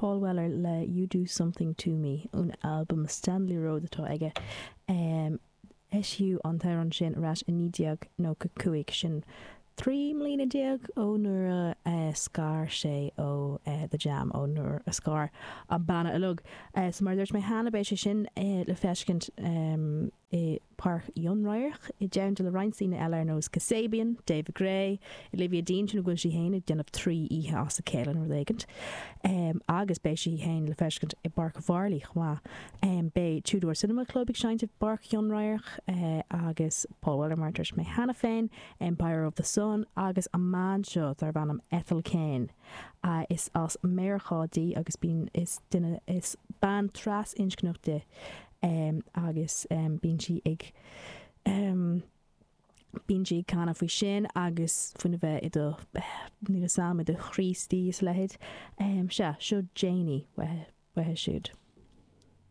Paul Weller le You Do Something To Me ón albam Stanley Road atá aige. Eisíodh an t-amhrán sin ar ais i 1995, sin 13 mbliana ó nuair a scar sé ó The Jam, ó nuair a scar an banna uilig. So mar a dúirt mé cheana, beidh sé sin le feiscint i bPáirc Fhionnradhairc i dteannta le roinnt daoine eile ar nós Kasabian, David Gray, Olivia Dean, sin go bhfuil sí féin ag déanamh 3 oíche as a chéile nó rud éigint, agus beidh sí féin le feiscint i bPáirc Mharlaí chomh maith. Beidh Two Door Cinema Club ag seinnt i bPáirc Fhionnradhairc agus Paul Weller mar a dúirt mé cheana féin, Empire of the Sun agus an mbean seo darb ainm Ethel Cain. Is as Meiriceá di agus bíonn is duine is bean trasinscneach di. agus bíonn sí ag bíonn sí ag canadh faoi sin agus faoina bheith i do níl 'fhios a'm i do Chríostaí is a leithéid. Sea, seo Janie uaithi siúd.